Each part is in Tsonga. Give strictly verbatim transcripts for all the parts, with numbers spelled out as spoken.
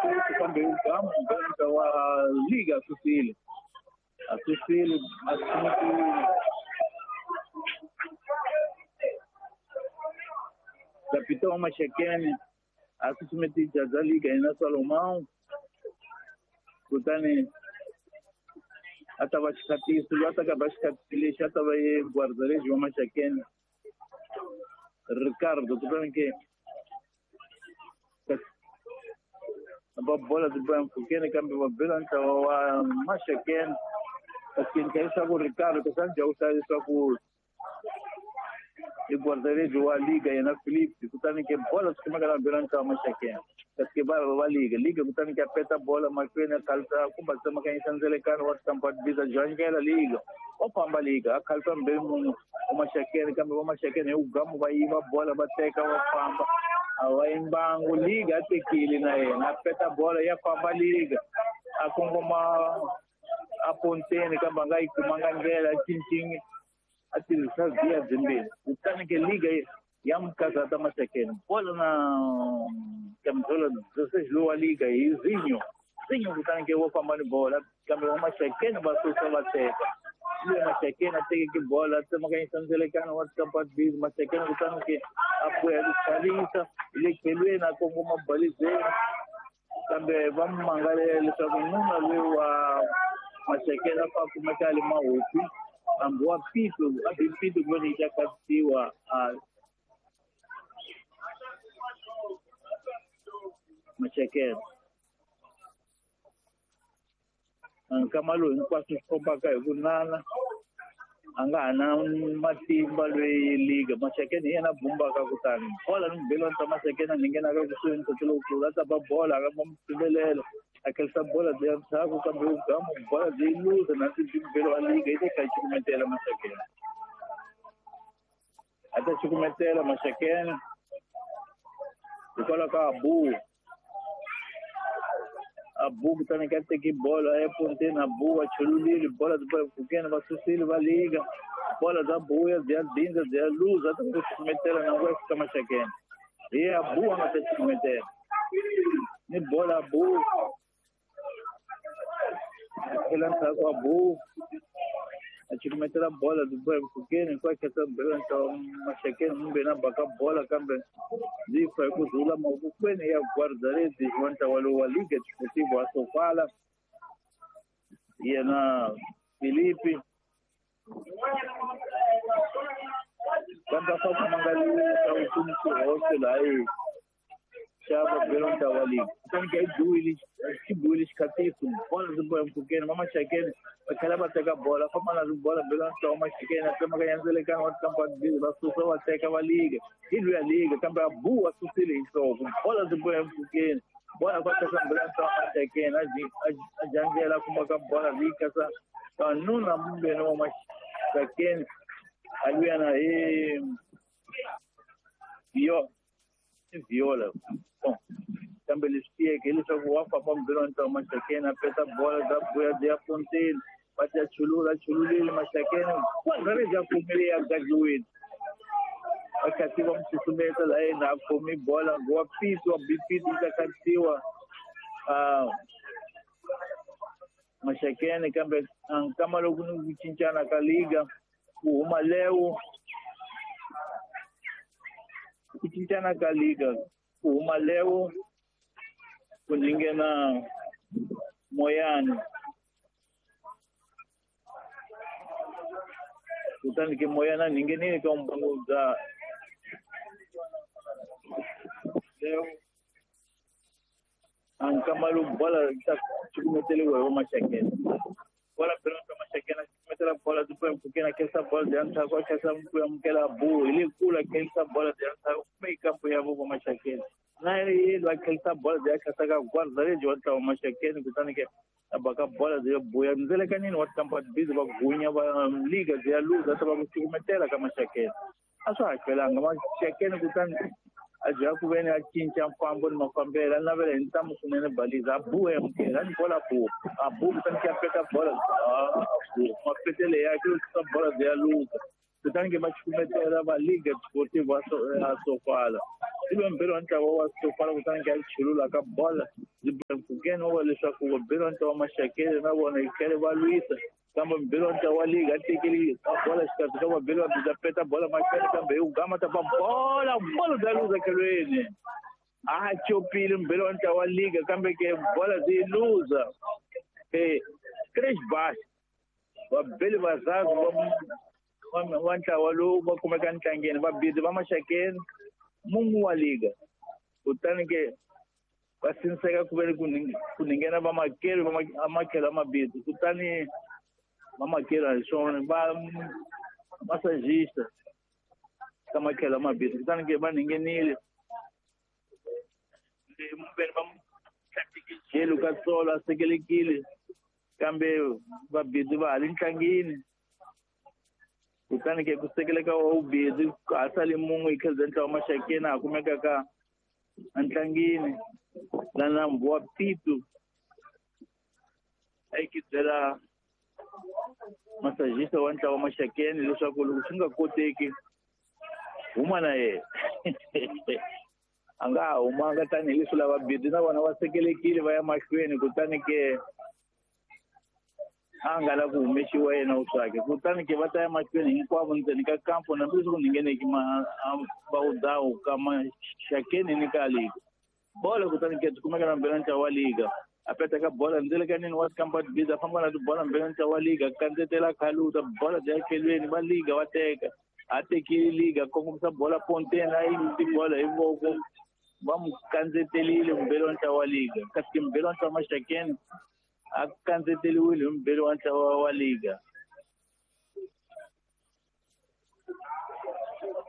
futhi kambe ugamu mbelanta wa liga a susile a susile a sukumetiwile capitão wa Maxakeni a susumeti jaza liga yena Salomão kutani a ta va xikhatisi loyi a ta ka va xikhatisi lexi a ta va ye guardarejho wa Maxakeni Ricardo kutani ke va bola byi boya mpfhukeni kambe va bela ntlawa wa Maxakeni kasi ndla leswaku Ricardo kasi a ni dya ku leswaku i guardarejho wa liga yena Philip kutani ke bola swi kumeka na bela ntlawa Maxakeni kasi ke va va liga liga kutani ke a peta bola mahlweni a khalisa kumbe a tsemakanyisa ndzelekano wa Stamford Biza janyikela liga wa famba liga a khalisa mbeli munhu wa Maxakeni kambe va Maxakeni hi ugamu va yiva bola va teka va famba a va yimbangu liga a tekile na yena a peta bola ya famba liga a kongoma a ponteni kambe a nga yi kumanga ndlela a cincini a tirhisa via byimbirhi kutani ke liga ya mukazata Maxakeni bola na camisola dezesseis lowa liga hi Zinho Zinho kutani ke wo famba ni bola kambe va Maxakeni va susa va teka loyi Maxakeni a tekeke bola a tsemakanyisa ndzelekano wa Stamford Bridge Maxakeni kutani ke a boya ku khalisa hi le tlhelweni a kongoma balizeni kambe va mu mangalela leswaku nuna loyi wa Maxakeni a fa kumeka a le mahopi hambi wa pito a bi pito ku veni yi ta khatisiwa a Maxakeni nkama lowu hinkwaswo swi kombaka hi ku nana a nga ha na matimba loyi liga Maxakeni hi yena bumbaka kutani bola ni mubelani ta Maxakeni a ni nghenaka kusuhi ni ntsotso lowukulu a ta ba bola a nga va mu a khalisa bola byi ya ndzhaku kambe ugamu bola byi yi luza na mubelo wa liga yi ta kha yi cukumetela Maxakeni a ta cukumetela Maxakeni hikwalaho ka Abu Abu kutani ka teki bola a ya ponteni Abu va chululile bola byi bola mpfhukeni va susile va liga bola bya buya byi ya dindza byi ya luza a ta ku cukumetela na nguva ya fika Maxakeni hi Abu a nga ta cukumetela ni bola Abu a tlhela ndzhaku Abu a cukumetela bola byi boya mpfhukeni hinkwayo khetsa bela ntlawa Maxakeni mumbe na baka bola kambe byi fa hi ku rhula mavokweni ya guardarezi wa ntlawa lowu wa Liga Desportiva wa Sofala yena Filipe kambe a fa ku mangaliwa leswaku ku ni xihoxo laha yi xa va bela ntlawa wa liga kutani ke yi biwile xi biwile xikhatiso bola byi boya mpfhukeni va Maxakeni va tlhela va teka bola famba na bola bela ntlawa Maxakeni a tsemakanya ndzelekano wa Stamford Bridge va susa va teka va liga hi luya liga kambe a bu a susile hi nhloko bola byi boya mpfhukeni bola va teka bela ntlawa Maxakeni a janjela a kumaka bola byi kasa kanuna mumbeni wa Maxakeni a luya na hi yo viola bom kambe leswi tiyeke hileswaku wa famba mubelo wa ntlawa Maxakeni a peta bola bya buya byi ya ponteni va ta chulula chululile Maxakeni guardarezi a kumile ya gajiwile va khathi va mu susumeta laha yena a khomi bola wa pito wa bi pito yi ta khatisiwa Maxakeni kambe nkama loko ni ku cincana ka liga ku huma Leo ku cincana ka liga ku huma Leo ku nghena Moyani kutani ke Moyani a nghenile ka mbangu bya Leo nkama lowu bola ta cukumeteliwa hi wa Maxakeni bola bela ka Maxakeni a cukumetela bola byi boya mpfhukeni a khensa bola byi ya ndzhaku a khensa ku amukela Abu hi le kule a khensa bola byi ya ndzhaku kumbe yi kampo ya vo va Maxakeni na yelo a khensa bola byi ya khensa ka guardarezi wa ntlawa Maxakeni kutani ke a baka bola byi ya buya ndzelekanini wa Stamford Bridge va gunya va liga byi ya luza ta va ku cukumetela ka Maxakeni a swa ha hlwelanga Maxakeni kutani a bya ku veni a cinca mfambo ni mafambelo a navela hi ntamu swinene baliza a buwa amukela a ni bola bu a bu kutani ke a peta bola bu mapetele yakhe yo susa bola byi ya luza kutani ke va cukumetela va Liga Desportiva a Sofala Ibe mbhelo wa ntlawa wa Sofala kutani ke a chulula ka bola byi ba mpfhukeni wa leswaku vabelo wa ntlawa wa Maxakeni na vona yi tlhele va lwisa kambe mbhelo wa ntlawa wa liga a tekeli bola xikarhi ka vabelo va byi peta bola mahlweni kambe hi ku gama ta ba bola bola bya luza khelweni a chopile mbhelo wa ntlawa wa liga kambe ke bola byi luza eh três baixo vabeli vazazi va wa ntlawa lowu va kumeka ntlangeni vabidi va Maxakeni mungu wa liga kutani ke va siniseka ku veni ku ninghena vamakeri va makhelo mabidi kutani vamakeri a hi swona va massagista ka makhelo mabidi kutani ke va ninghenile veni va jelu ka tsolo a sekelekile kambe vabidi va ha le ntlangeni kutani ke ku sekeleka wa vubidi ha sali mun'we hi kheza ntlawa Maxakeni a kumeka ka ntlangeni la nambu wa Pitu a yi byela massagista wa ntlawa Maxakeni leswaku loko swi nga koteki huma na yena a nga ha humanga tanihileswi lava bidi na vona va sekelekile va ya mahlweni kutani ke a nga la ku humexiwa yena uswake kutani ke va ta ya mahlweni hinkwavo ndzeni ka kampo hambileswi ku ngheneki vawudawu ka Maxakeni ni ka liga bola kutani ke kumeka na mbhelo ntlawa wa liga a peta ka bola ndzele ka nini wa tikampa tibidi a famba na tibola mbhelo ntlawa wa liga kandzetela khaluta bola bya khelweni va liga va teka a tekile liga kongomisa bola ponteni a yi tibola hi voko va mu kandzetelile mbhelo ntlawa wa liga kasi ke mbhelo ntlawa Maxakeni a kandzeteliwile hi mbhelo wa ntlawa wa liga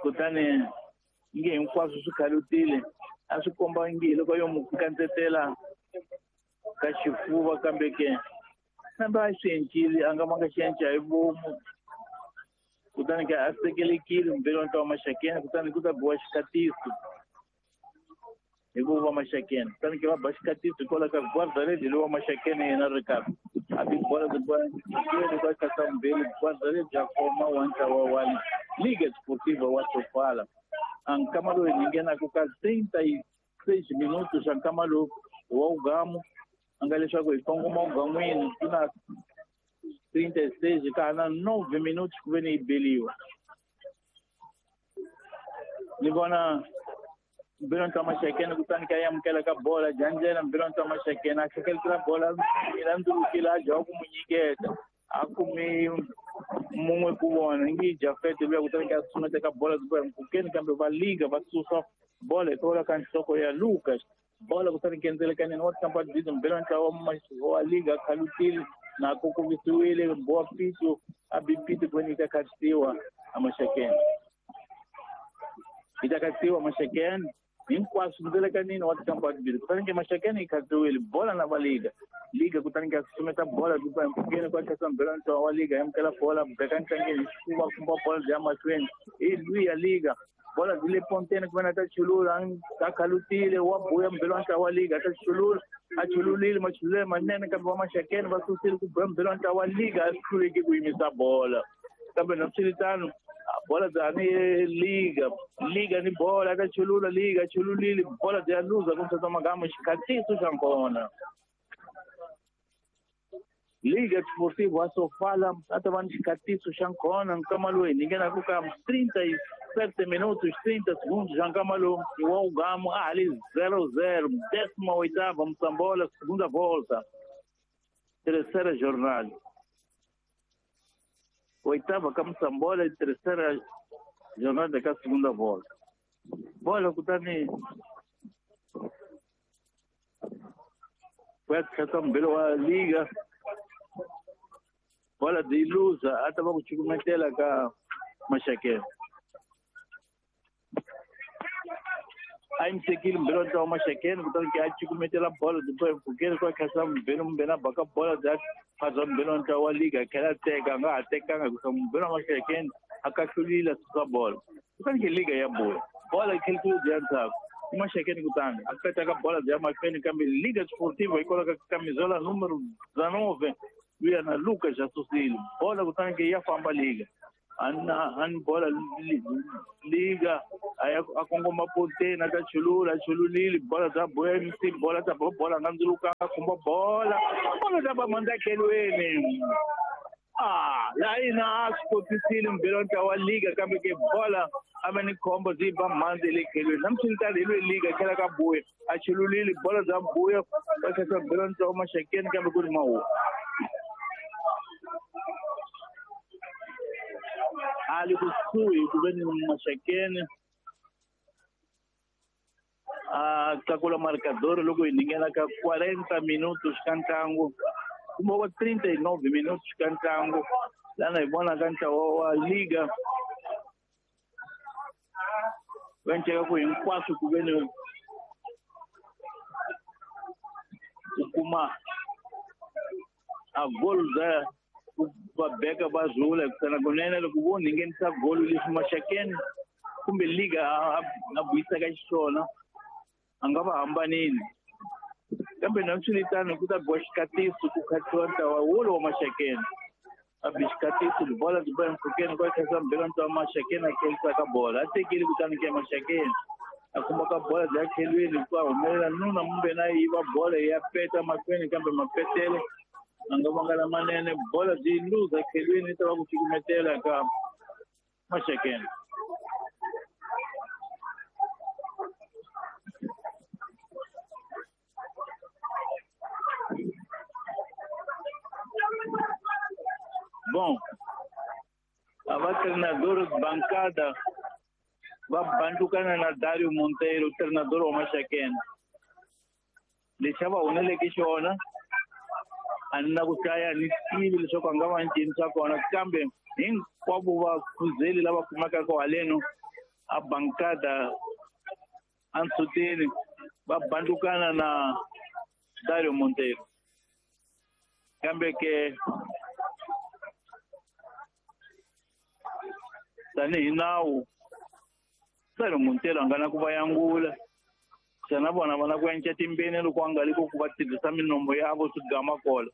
kutani nge hinkwaswo swi khalutile a swi komba nge loko yo mu kandzetela ka xifuva kambe ke kambe a swi encile a nga manga xi enca hi vomu kutani ke a sekelekile mbhelo wa ntlawa Maxakeni kutani ku ta biwa xikatiso hi ku va Maxakeni kutani ke va ba xikatiso hikwalaho ka guarda-rede lowa Maxakeni yena Ricardo a bi bola byi ka kasa mbhelo guarda-rede ya koma wa ntlawa wa Liga Esportiva wa Sofala a nkama lowu hi nghenaka ka trinta e seis minutos a nkama lowu wa ugamu a nga leswaku hi kongoma ugan'wini ku na trinta e seis ka ha na nove minutos ku veni yi beliwa ni vona mbhelo ntlawa Maxakeni kutani ka amukela ka bola janjela mbhelo ntlawa Maxakeni a hlekeletela bola ila ndzulukile a jaha ku mu nyiketa a kumi mun'we ku vona ngi Jafete luya kutani ka sumeta ka bola mpfhukeni kambe va liga va susa bola hikwalaho ka nhloko ya Lucas bola kutani ke ndzelekaneni wa tikampa bidi mbhelo ntlawa wa liga khalutile na ku kuvisiwile boa Pitu a bi Pitu ku veni yi ta khatisiwa a Maxakeni yi ta khatisiwa Maxakeni hinkwaswo ndzelekanini wa tikampa timbirhi kutani ke Maxakeni yi khatsiwile bola na va liga liga kutani ke sumeta bola byi ba mpfhukeni kwa tlhasa mbhelo ntlawa wa liga amukela bola beka ntlangeni xifuva kumba bola byi ya mahlweni hi luya liga bola byi le ponteni ku vena ta chulula a khalutile wa buya mbhelo ntlawa wa liga ta chulula a chululile machululele manene kambe va Maxakeni va susile ku buya mbhelo ntlawa wa liga a swi hluleki ku yimisa bola kambe naswiritano bola byani liga liga ni bola ka chulula liga chululile bola bya luza ku msasa magama xikhatiso xa nkona Liga Esportiva Sofala a ta va ni xikhatiso xa nkona nkama lowu hi nghenaka ka trinta e sete minutos trinta segundos xa nkama lowu wa ugamu a ha li zero zero décima oitava Moçambola segunda volta terceira jornada oitava ka Moçambola e terceira jornada ka segunda volta bola kutani ku ya tlhasa mbhelo wa liga bola byi luza a ta va ku cukumetela ka Maxakeni a yi tekile mbhelo wa ntlawa Maxakeni kutani ke a cukumetela bola byi ba mpfhukeni kwa khasa mbhelo mbhelo a baka bola bya phadza mbhelo wa ntlawa wa liga a tlhela a teka a nga ha tekanga hikuva mbhelo wa Maxakeni a kahlulile a susa bola kutani ke liga ya buya bola yi tlhelisile byi ya ndzhaku i Maxakeni kutani a peta ka bola byi ya mahlweni kambe Liga Esportiva hikwalaho ka camisola número dezenove luya na Lucas a susile bola kutani ke ya famba liga An bola liga a kongoma ponteni a ta chulula chululile bola ta boya M C bola ta bola nga ndzuluka khumba bola bola ta ba mandzakelweni ah la ina a swi kotisile mbirhi ntlawa wa liga kambe ke bola a va ni khombo byi ba mhandzi le khelweni namuntlha hi lwe liga tlhela ka buya a chululile bola bya buya va tlhela mbirhi ntlawa Maxakeni kambe ku ri mahuwa a le kusuhi ku ve ni Maxakeni a tlakula marcador loko hi ninghena ka quarenta minutos ka ntlangu kumbe wa trinta e nove minutos ka ntlangu lana hi vona ka ntlawa wa liga va nceka ku hinkwaswo ku ve ni ku kuma a goal za va beka va rhula kutani kunene loko vo nghenisa golo leswi Maxakeni kumbe liga a vuyisaka xiswona a nga va hambanini kambe nanswiritano ku ta biwa xikatiso ku khatiwa ntlawa wolowo wa Maxakeni a bi xikatiso bola byi ba empfhukeni kwa khaisa mbirhi ntlawa wa Maxakeni a khelisaka bola a tekile kutani ke Maxakeni a kuma ka bola bya khelweni ku humelela nuna mumbe na yiva bola ya peta mahlweni kambe mapetele a nga vanga lamanene bola byi luza khelweni yi ta va ku cukumetela ka Maxakeni. Bom, a va treinador bancada va bandukana na Dario Monteiro, treinador wa Maxakeni. Lexi a va huneleke xona a ni na ku hlaya ni tivi leswaku a nga va ncini swa kona kambe hinkwavo vakhuzeli lava kumekaka haleno a bancada a ntshuteni va bandukana na Dario Monteiro kambe ke tanihi nawu Dario Monteiro a nga na ku va yangula xana vona va na ku enca timbeni loko a nga li ku va tirhisa minombo yavo swi gama kola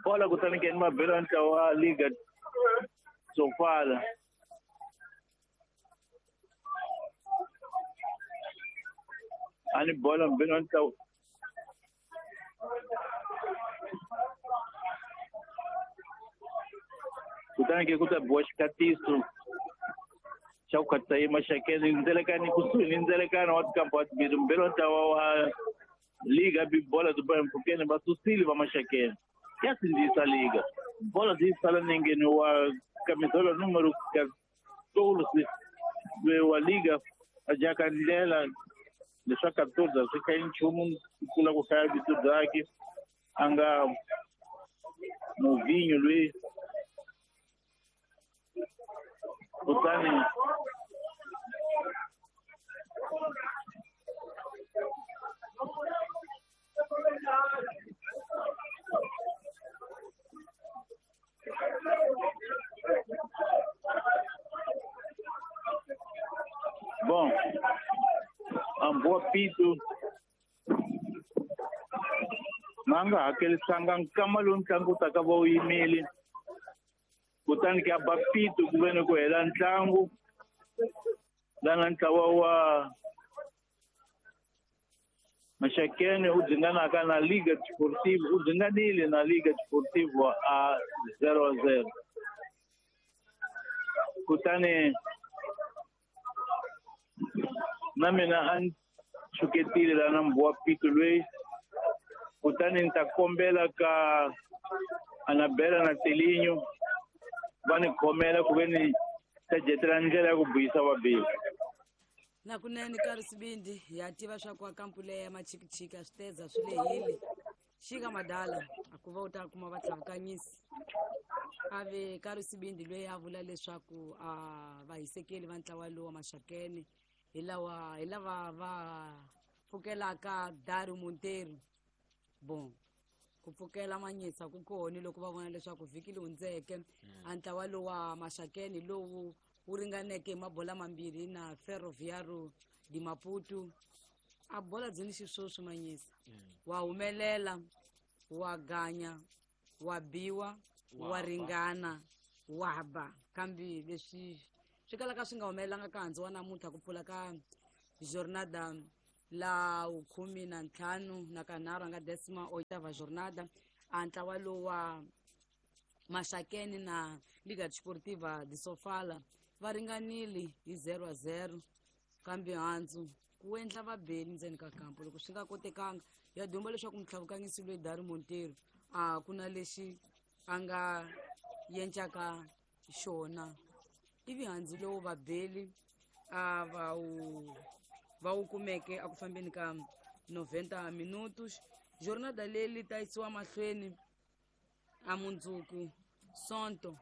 bola kutani ke ni mabelo ya ntlawa wa liga Sofala a ni bola mbelo ya ntlawa kutani ke ku ta biwa xikatiso xa ku khatisa yi Maxakeni ndzelekani kusuhi ni ndzelekano wa tikampa wa timbirhi mbirhi wa ntlawa wa liga bi bola byi ba empfhukeni va susile va Maxakeni ya sindzisa liga bola byi sala nengeni wa camisola número quatorze wa liga a jaka ndlela leswa quatorze a swi hlayi nchumu ku tlula ku hlaya vito byakhe a nga Movinho loyi kutani Bom, amboa pito ma nga hakelisanga nkama lowu ntlangu wu taka va wu yimile kutani ke a ba pito ku ve ni ku hela ntlangu lana ntlawa wa Maxakeni u dzinganaka na Liga Desportiva u dzinganile na Liga Desportiva a zero a zero kutani na mina a ni tshuketile lana mbuwa pito loyi kutani ni ta kombela ka Anabela na Telinho va ni khomela ku ve ni ta jetela ndlela ya ku buyisa vabeli. Na kunene ka risibindi ya tiva swa ku akampu leya ya machikichiki a swi teza swi lehile xika madala a ku va u ta kuma vatlhavukanyisi a ve ka risibindi loyi a vula leswaku a vahisekeli va ntlawa lowu wa Maxakeni hi lawa hi lava va pfukelaka Dario Monteiro. Bon, ku pfukela manyisa ku kona loko va vona leswaku vhiki leyi hundzeke a ntlawa lowu wa Maxakeni lowu wu ringaneke hi mabola mambirhi na Ferroviário de Maputo a bola byi ni xiswoswi manyisa wa humelela wa ganya wa biwa wa ringana Waba kambe leswi swi kalaka swi nga humelelanga ka handzu wa namuntlha ku pfula ka jornada la khume na ntlhanu na kanharhu a nga decima oitava jornada a ntlawa lowu wa Maxakeni na Liga Desportiva de Sofala va ringanile hi zero a zero kambe handzu ku endla vabeli ndzeni ka kampo loko swi nga kotekanga ya dumba leswaku mutlhavukanyisi loyi Dari Monteiro a ku na lexi a nga yencaka xona ivi handzu lowu vabeli a va wu va wu kumeke a ku fambeni ka noventa minutos. Jornada leyi ta yisiwa mahlweni a mundzuku Sonto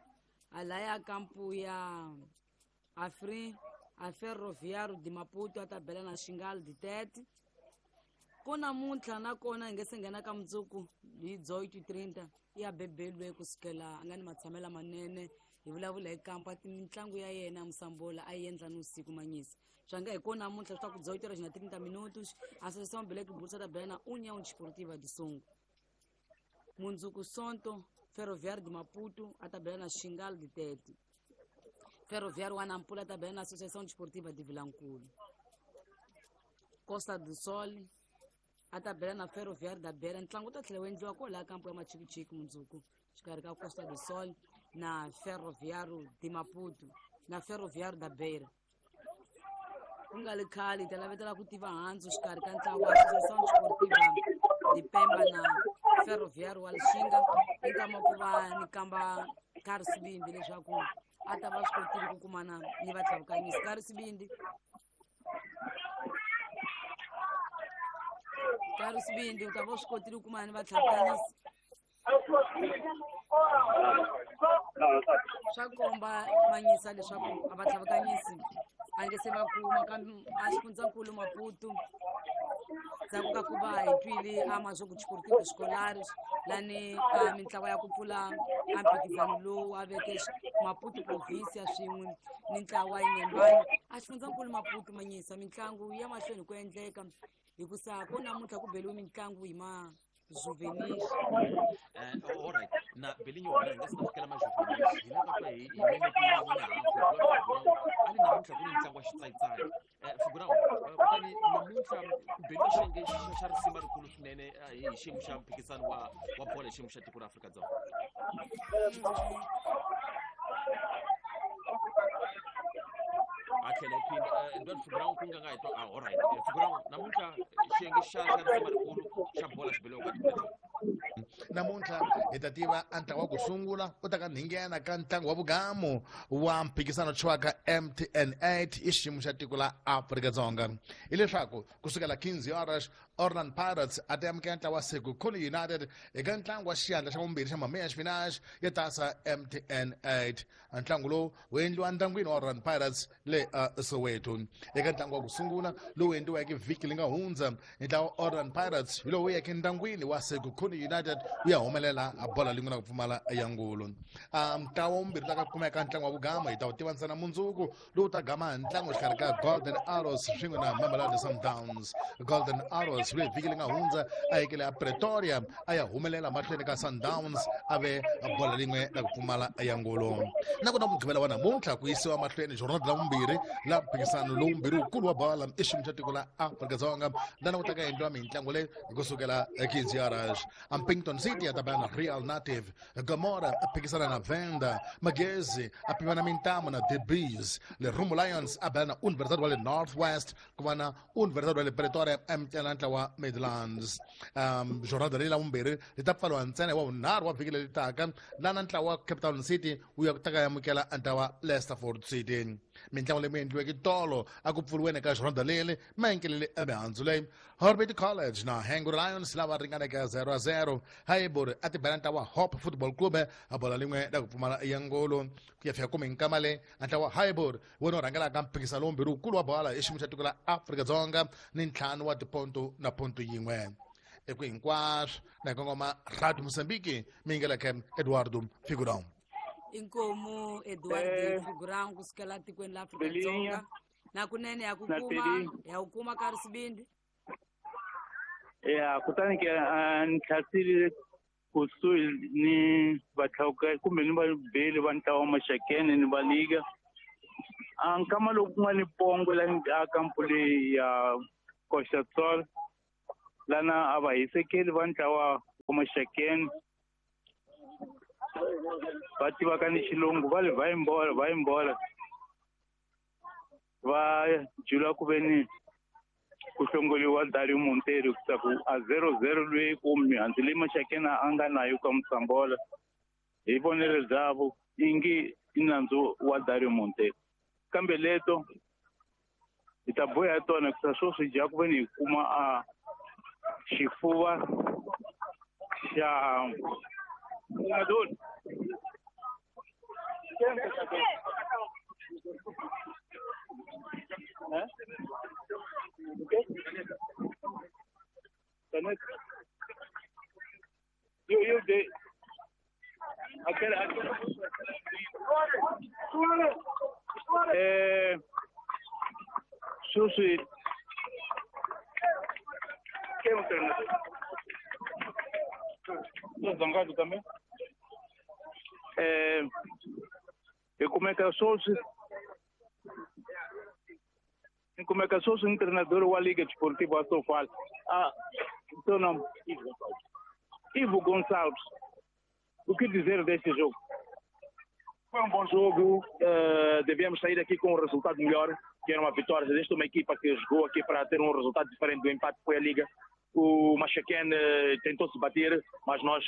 a laya kampu ya Afri a Ferroviário de Maputo a ta bela na Xingal de Tete. Ko namuntlha nakona hi nge se nghena ka mundzuku hi oito trinta ya bebelwe kusukela a nga ni matshamelo manene hi vulavula hi kampa mitlangu ya yena Musambola a yi endla ni usiku manyisa swa nga hi ko namuntlha swi ta ku oito horas na trinta minutos Associação Black Bulls ta bela na União Desportiva de Songo. Mundzuku Sonto Ferroviário de Maputo a ta bela na Xingal de Tete. Ferroviário wa Nampula ta bela na Associação Desportiva de Vilankulu. Costa do Sol a ta bela na Ferroviário da Beira. Ntlangu wu ta tlhela wu endliwa kwalaha kampo ya Machikichiki mundzuku xikarhi ka Costa do Sol na Ferroviário de Maputo na Ferroviário da Beira. Ku nga li khale hi ta lavetela ku tiva handzu xikarhi ka ntlawa wa Associação Desportiva de Pemba na Ferroviário wa Lixinga i nkama ku va ni kamba Karhi Sibindi leswaku a ta va swi kotile ku kumana ni vatlhavukanyisi. Karhi Sibindi, Karhi Sibindi u ta va swi kotile ku kumana ni vatlhavukanyisi. Swa komba manyisa leswaku a vatlhavukanyisi a nge se va kuma kambe a xifundzankulu Maputo ndzhaku ka ku va hi twile a Mazoku Desportivo Escolares lani a mintlawa ya ku pfula a mphikizano lowu a veke Maputo province swin'we ni ntlawa Inhambane a xifundzankulu Maputo manyisa mitlangu ya mahlweni ku endleka hikusa ko namuntlha ku beliwe mitlangu hi ma juvenis. Eh, all right. Na Belinho wena nga sina fikela ma juvenis. Hi la ka hi hi meme ku na ali namuntlha ku ni ntlangu wa xitsayitsayi. Eh, Figurão, kutani namuntlha ku beliwa xiyenge xa risima rikulu swinene hi xiyimo xa mphikizano wa wa bolo hi xiyimo xa tiko ra Afrika-Dzonga. A tlhela phinda Edward Figurão ku nga nga hi twa ah all right. Figurão namuntlha xiyenge xa xa risima rikulu xa bolo xi beliwa ka tiko. Namuntlha hi ta tiva a ntlangu wa ku sungula u ta ka nghena ka ntlangu wa vugamu wa mphikizano tshwaka M T N eight i xiyimo xa tiko la Afrika-Dzonga. Hileswaku kusukela quinze horas Orlando Pirates a ta amukela ntlangu wa Sekhukhune United eka ntlangu wa xiyandla xa vumbirhi xa meias finais ya tasa M T N eight. Ntlangu lowu wu endliwa ndyangwini wa Orlando Pirates le Soweto. Eka ntlangu wa ku sungula lowu endliweke vhiki li nga hundza ntlangu wa Orlando Pirates hi lowu yeke ndyangwini wa Sekhukhune United wu ya humelela a bola lin'we na ku pfumala ya ngulu. Ntlawa wumbirhi ta ka kumeka ntlangu wa vugama hi ta wu tiva ntsena mundzuku lowu ta gama ntlangu exikarhi ka Golden Arrows swin'we na Mamelodi Sundowns. Golden Arrows leyi vhiki li nga hundza a yekele a Pretoria a ya humelela mahlweni ka Sundowns a ve bola lin'we na ku pfumala ya ngulu. Na kona mugqivela wa namuntlha ku yisiwa mahlweni jornada la vumbirhi la mphikizano lowu mbirhi wukulu wa bola i xiyimo xa tiko la Afrika-Dzonga lana ku ta ka endliwa mitlangu leyi hi kusukela quinze horas. Ampington City a ta bela na Real Native, Gomora a phikisana na Venda, Magezi a pimana mintamu na The Bees, Lerumo Lions a bela na Universidade wa le North West ku va na Universidade wa le Pretoria emtela ntlawa Midlands. Um, jornada leyi la vumbirhi ri ta pfariwa ntsena wa vunharhu wa vhiki leri taka lana ntlawa wa Cape Town City wu ya ku ta ka amukela ntlawa Leicesterford City. Mitlangu leyi mi endliweke tolo a ku pfuriweni ka jornada leri ma enkelele emihandzu leyi Orbit College na Hangul Lions lava ringaneke zero a zero. Haiburi a ti bela ntlawa Hope Football Club a bola lin'we la ku pfumala ya ngolo ku ya fika kumi nkama le ntlawa Haiburi wona wu rhangelaka mphikizano lowumbirhi wukulu wa bola i xiyimo xa tiko la Afrika-Dzonga ni ntlhanu wa tiponto na ponto yin'we. Eku hinkwaswo na kongoma Radio Mozambique mi yingeleke Eduardo Figurão. Inkomu Eduardo Figurão kusukela tikweni la Afrika-Dzonga na kunene ya ku kuma ya ku kuma Karhi Sibindi. Ya kutani ke ni tlhasile Kusuhi ni vatlhawuka kumbe ni vabeli va ntlawa wa Maxakene ni va liga. A nkama loku ku nga ni pongo la a kampu leyi ya Costa Sol lana a va hisekeli va ntlawa wa Maxakene va tivaka ni xilungu va le va imbola va imbola va jula ku ve ni ku hlongoliwa Dario Monteiro ku a zero zero loyi ku mihandzu leyi Maxakene a nga nayo ka Musambola hi vonelo byavo ingi i nandzu wa Dario Monteiro kambe leto hi ta boya tona ku sweswi dya ku ve ni hi kuma a xifuva xa Madonna. Eu, eu dei. Aquela, aquela... É. Susi. Quem é o treinador? Tô zangado também. É. Eu como é que eu sou? Como é que eu sou um treinador da Liga Desportiva Sofal? Ah, seu nome? Ivo Gonçalves. O que dizer deste jogo? Foi um bom jogo, uh, devíamos sair aqui com um resultado melhor, que era uma vitória. Esta é uma equipa que jogou aqui para ter um resultado diferente do empate que foi a Liga. O Maxaquene tentou se bater, mas nós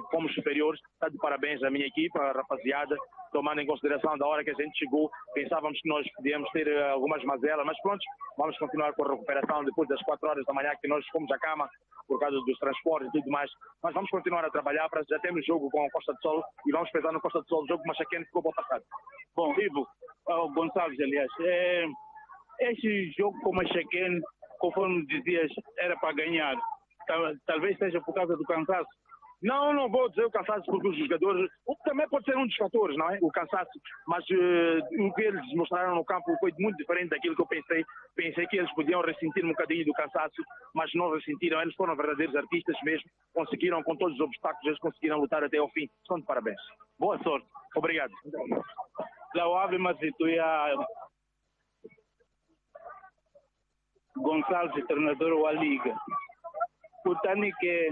fomos superiores. Está de parabéns à minha equipa, à rapaziada, tomando em consideração da hora que a gente chegou, pensávamos que nós podíamos ter algumas mazelas, mas pronto, vamos continuar com a recuperação depois das quatro horas da manhã que nós fomos à cama por causa dos transportes e tudo mais, mas vamos continuar a trabalhar, para já temos jogo com a Costa do Sol e vamos pensar no Costa do Sol, o jogo com o Maxaquene ficou bom passado. Bom, Ivo, oh, Gonçalves, aliás, é, este jogo com o Maxaquene, conforme dizias, era para ganhar. Talvez seja por causa do cansaço. Não, não vou dizer o cansaço, porque os jogadores... O que também pode ser um dos fatores, não é? O cansaço. Mas uh, o que eles mostraram no campo foi muito diferente daquilo que eu pensei. Pensei que eles podiam ressentir um bocadinho do cansaço, mas não ressentiram. Eles foram verdadeiros artistas mesmo. Conseguiram, com todos os obstáculos, eles conseguiram lutar até ao fim. São de parabéns. Boa sorte. Obrigado. Lauave Mazituia Gonçalves, treinador wa Liga. Kutani ke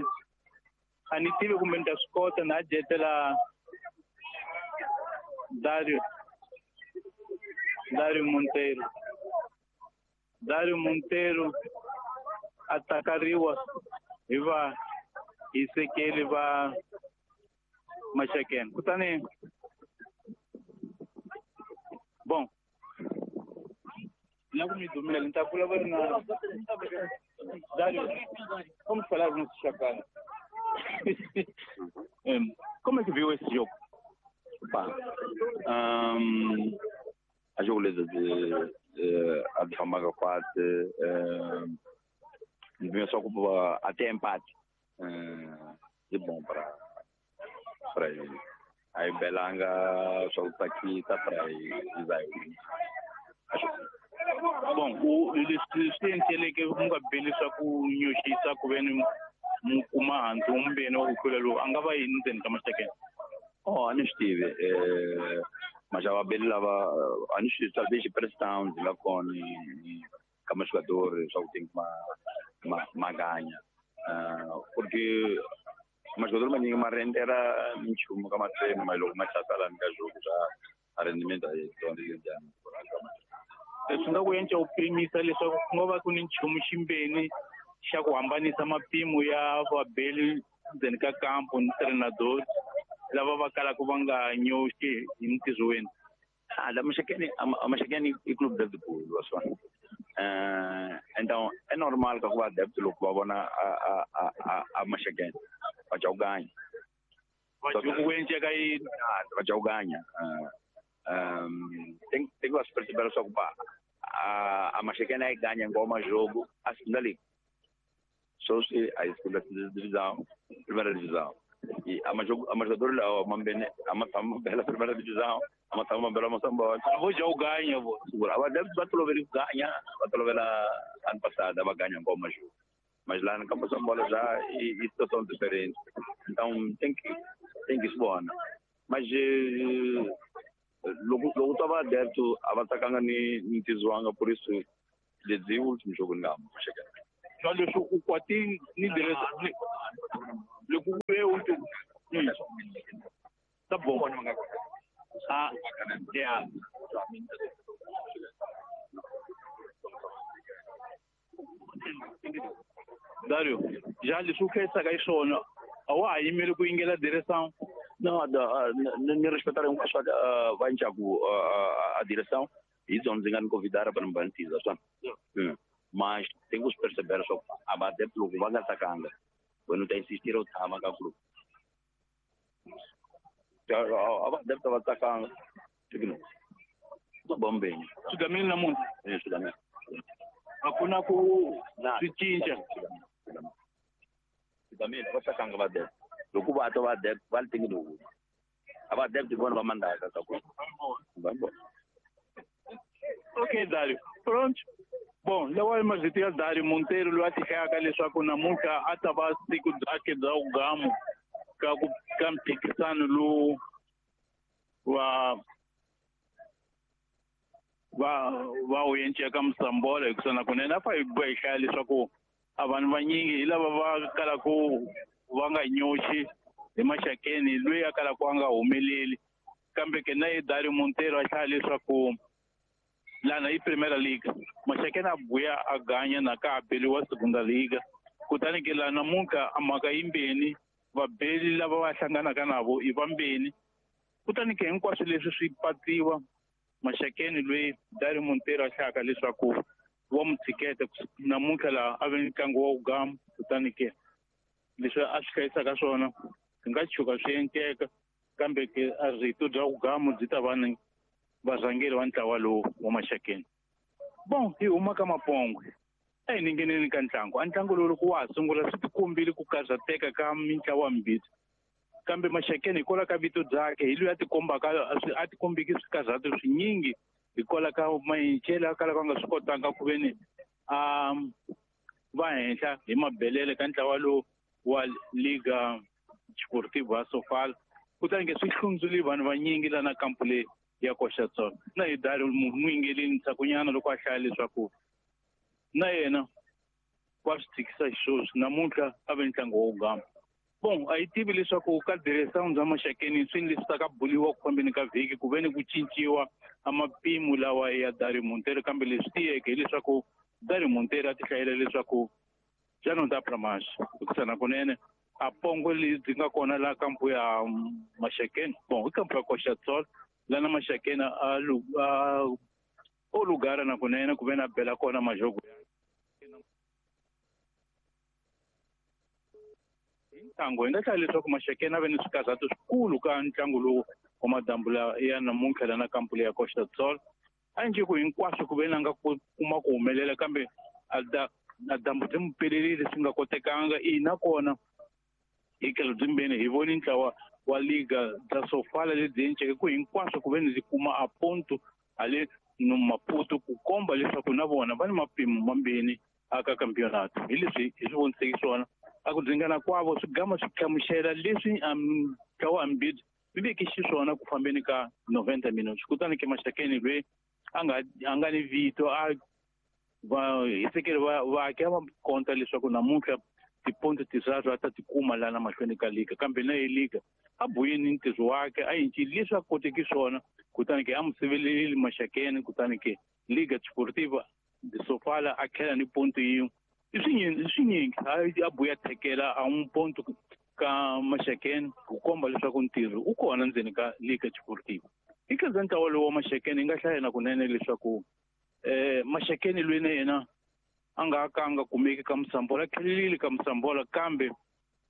a ni tivi kumbe ni ta swi kota na dyetela Dario Dario Monteiro. Dario Monteiro a takariwa hi va hisekeli va Maxakene. Kutani bom, na ku mi dumela ni ta vulavula na Dário, vamos falar no Chacana. Como é que viu esse jogo? Opa, um, a jogo de, de a de Famaga quatro, um, só até empate, um, de bom para para ele. Aí Belanga só está aqui, está para aí, acho que bom, o leswi que mu nga beli swa ku nyoxisa ku ve ni mu kuma handzu wumbeni wa ku hlula lowu a nga va yini ndzeni ka Maxakene? Oh, a ni swi tivi eh, mas a vabeli lava a ni swi talvez pressão ndzi nga kona ka majogadores swa ku tem que ma ma ma ganha uh, porque majogador maningi ma rendera minchumu ka matreno mas loko ma hlasela ka jogo swa a rendimento a yi dyondzile njhani. Leswi nga ku endla u pimisa leswaku ku nga va ku ni nchumu ximbeni xa ku hambanisa mapimo ya vabeli ndzeni ka kampo ni treinador lava va kalaka va nga nyoxi hi ntirhweni. Ah, da Maxakene, a Maxakene i clube de futebol, só. Uh, então é normal que o adepto loko va vona a a a a, a Maxakene va dya ku ganha. Va dya ku endleka yini? Va dya ku ganha. Uh, um, tem tem que se perceber só que a a Maxakene aí ganha ngoma jogo a segunda liga. Só se a segunda divisão, primeira divisão. E a a jogador lá, a Mambene, a Matamba, a primeira divisão, a Matamba Bela Moçambola. Vou já o ganha, vou. Segura. A deve bater o ganha, bater lá ano passado, ela ganha ngoma jogo. Mas lá no Campo São Paulo já e, e situação diferente. Então tem que tem que se vona. Mas logo logo tava adepto a va tsakanga ni ni tizwanga, por isso lebyi último jogo ni nga Maxakeni. Swa leswi u kwati ni diresa loko ku ve último tá bom. Ah, yeah. Dario, já leswi u khensaka hi swona a wa ha yimeli ku yingela direção? Não, ni respeitar hinkwaswo va ncaku a direção hi byona ndzi nga ni convidar para ni va ni tiza swona. Mas tem que perceber só a adepto loko va nga tsakanga wena u ta insistir u tshama ka club. A adepto va tsakanga swi bombeni swi gamile namuntlha. Eh, swi gamile. A ku na ku swi cinca. Swi gamile, va tsakanga va adepto. Loko va twa va adepto va li tingi lowu. A va adepto hi vona va mandaka ka ku. Va vona. Okay, Dario. Pronto. Bom, lawa mazito ya Dario Monteiro loyi a ti hlayaka leswaku namuntlha a ta va siku byakhe bya vugamu ka ku ka mphikisano lowu wa va va wu enceka Msambola hikusa na kunene a fa hi boha hi hlaya leswaku a vanhu vanyingi hi lava va kalaku va nga nyoxi hi Maxakeni loyi a kalaku a nga humeleli, kambe ke na ye Dario Monteiro a hlaya leswaku lana i Primeira Liga Maxakeni a buya a ganya na ka a beliwa Segunda Liga, kutani ke laha namuntlha a mhaka yimbeni vabeli lava va hlanganaka navo i vambeni, kutani ke hinkwaswo leswi swi patsiwa Maxakeni loyi Dario Monteiro a hlayaka leswaku wa mu tshiketa namuntlha laha a ve ni ntlangu wa vugamu, kutani ke leswi a swi hlayisaka swona swi nga tshuka swi endleka, kambe ke a rito bya vugamu byi ta va ni varhangeri va ntlawa lowu wa Maxakeni. Bon, hi huma ka Mapongwe a hi ningeneni ka ntlangu. A ntlangu lowu loko wa ha sungula swi tikombile ku karhateka ka mintlawa mimbirhi, kambe Maxakeni hikwalaho ka vito byakhe hi loyi a tikombaka a tikombiki swikarhato swinyingi hikwalaho ka mayincele a kalaka a nga swi kotanga ku ve ni a va henhla hi mabelele ka ntlawa lowu wa Liga Desportiva ya Sofala, kutani ke swi hlundzule vanhu vanyingi lana kampu leyi ya koxa tsona. Na hi Dario muyingeleni ntshakunyana loko a hlaya leswaku na yena wa swi tshikisa xisweswi namuntlha a ve ntlangu wa wugama. Bon, a yi tivi leswaku ka direção bya Maxakeni swi leswi ta ka buliwa ku fambeni ka vhiki ku ve ni ku cinciwa a mapimo lawa ya Dario Monteiro, kambe leswi tiyeke hileswaku Dario Monteiro a ti hlayela leswaku já não dá pra mais. Hikusa na kunene a pongo lebyi nga kona laha kampu ya Maxakeni, bon i kampu ya koxa tsolo lana Maxakeni a a o lugar na kunene ku ve na bela kona majogo ntlangu. Hi nga hlaya leswaku Maxakeni a ve ni swikarhato swikulu ka ntlangu lowu wa madambula ya namuntlha lana kampu leyi ya koxa tsolo. A njhe ku hinkwaswo ku ve na nga kuma ku humelela, kambe a da a dyambu byi mu pelerile swi nga kotekanga. Ina kona hi tlhelo byimbeni hi voni ntlawa wa Liga bya Sofala lebyi enceke ku hinkwaswo ku ve ni byi kuma a ponto hale no Maputo ku komba leswaku na vona va ni mapimo mambirhi aka campeonato. Hi leswi hi swi voniseke swona a ku dzingana kwavo swi gama swi hlamusela leswi ntlawa ambirhi swi veke xiswona ku fambeni ka noventa minutes. Kutani ke Maxakeni loyi a nga a nga ni vito a va hisekeli va vaaki a va konta leswaku namuntlha tiponto tinharhu a ta ti kuma lana mahlweni ka liga, kambe na ye liga a buyeni ntirho wakhe a yincile leswi a koteki swona, kutani ke a mu sivelelile Maxakeni, kutani ke Liga Desportiva de Sofala a tlhela ni ponto yin'we. I swinyingi swinyingi a buya thekela a n'wi ponto ka Maxakeni ku komba leswaku ntirho u kona ndzeni ka Liga Desportiva. Hi khensa ntlawa lowu wa Maxakeni hi nga hlaya na kunene leswaku eh Maxakeni loyi na yena a nga ka a nga kumeki ka Msambola, a tlhelelile ka Msambola, kambe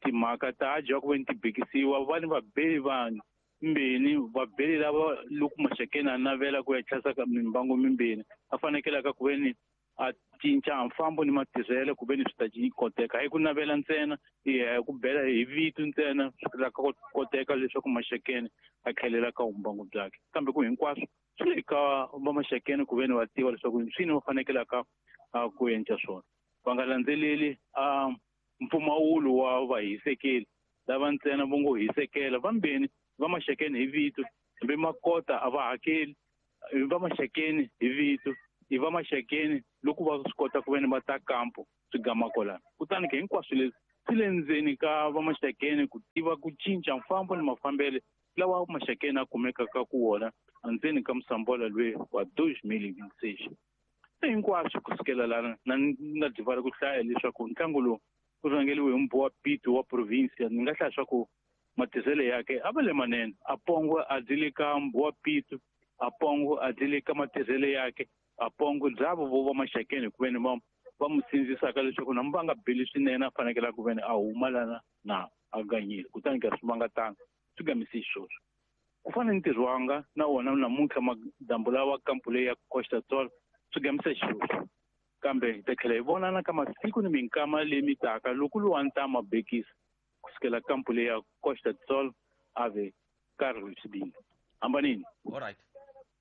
timhaka ta dya ku ve ni ti bikisiwa va ni vabeli vanhu mbeni vabeli lava loko Maxakeni a navela ku ya tlhasa ka mimbangu mimbeni a fanekelaka ku ve ni a cinca mfambo ni matirhelo ku ve ni swi ta koteka. Hayi ku navela ntsena, hi ku bela hi vito ntsena swi ta koteka leswaku Maxakeni a tlhelela ka vumbangu byakhe, kambe ku hinkwaswo swi le ka va Maxakeni ku ve ni va tiva leswaku swini va fanekelaka ku endla swona, va nga landzeleli a mpfumawulo wa vahisekeli. lava ntsena vo ngo hisekela vambeni va Maxakeni hi vito hambi makota a va hakeli va Maxakeni hi vito i va Maxakeni loko va swi kota ku veni va ta kampo swi gama kwalano kutani ke hinkwaswo leswi swi le ndzeni ka va Maxakeni ku tiva ku cinca mfambo ni mafambele lawa Maxakeni a kumekaka ku wona endzeni ka musambola loyi wa dois mil e vinte e seis se hinkwaswo kusukela lana na na divala ku hlaya leswaku ntlangu lowu wu rhangeliwe hi Mbowa Pito wa provinsia ni nga hlaya swa ku matizele yake a va le manene a pongo a dile ka Mbowa Pito a pongo a dile ka matizele yake a pongo dzavo vo va Maxakeni ku veni va va mu sindzisaka leswaku na va nga beli swinene a fanekele ku veni a huma lana na a ganyile kutani ka swi vanga tanga swi gamise xisweswo ku fana ni ntirho wanga na wona namuntlha madambu lawa kampu leyi ya Costa Sol swi gamise xisweswo kambe hi ta tlhela hi vonana ka masiku ni minkama leyi mi taka loko luwa ni ta mabekisa kusukela kampu leyi ya Costa Sol a ve Carlos Sibini hambanini alright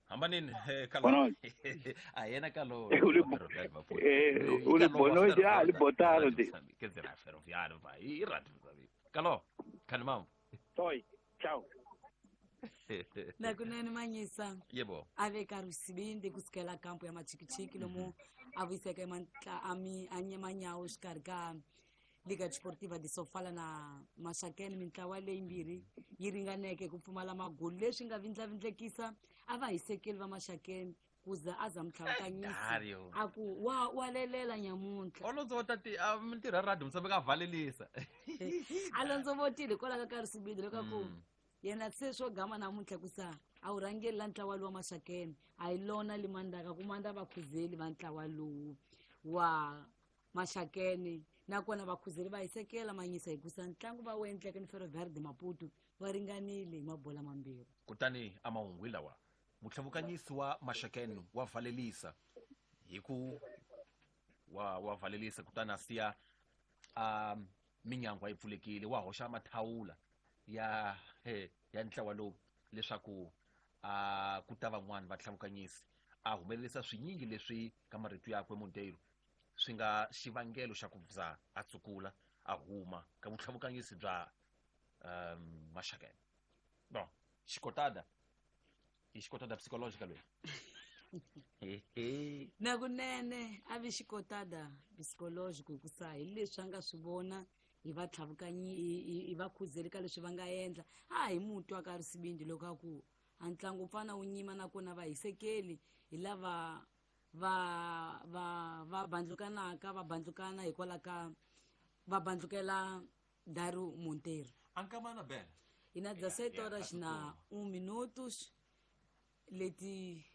hambanini kalo a yena kalo eh u le bono ya le botaro de quer dizer a ferroviário vai e rádio kalo kanimam toi ciao nakunene manyisa yebo a ve Carlos Sibindi kusukela kampu ya Machikichiki lomu a vuyiseke ami anyamanyawo xikarhi ka Liga Desportiva de Sofala na Maxakeni mintlawa leyimbirhi yi ringaneke ku pfumala magulu leswi nga vindlavindlekisa a va hisekeli va Maxakeni ku za a za mutlhavukanyisi a ku wa wa lelela nyamuntlha Alonso tati a mintirho ya radio musambeka a valelisa Alonso votile hikwalaho ka Carlos Sibindi loko ku yena se swo gama namuntlha ku sa a wu rhangeli la ntlawa lowu wa Maxakeni a hi lona limandaka ku manda vakhuzeli va ntlawa lowu wa Maxakeni nakona vakhuzeli va hisekela manyisa hikusa ntlangu va wu endleke ni Ferroviário de Maputo va ringanile hi mabola mambirhi kutani a mahungu lawa mutlhavukanyisi wa Maxakeni wa valelisa hi ku wa wa valelisa kutani a siya a minyangwa yi pfulekile wa hoxa mathawula ya he ya ntlawa lowu leswaku a ku ta van'wani va tlhavukanyisi a humelerisa swinyingi leswi ka marito yakwe Monteiro swi nga xivangelo xa ku za a tsukula a huma ka vutlhavukanyisi bya um Maxakeni bon xikotada i xikotada psychological loyi nakunene a vi xikotada psychological hikusa hi leswi a nga swi vona hi va tlhavukanyi hi va khuzeli ka leswi va nga endla a hi mutwa ka Sibindi loko a ku a ntlangu pfana wu nyima nakona va hisekeli hi lava va va va bandlukanaka va bandlukana hikwalaho ka va bandlukela Dario Monteiro ankamana bela hi na dezesete horas na um minutos leti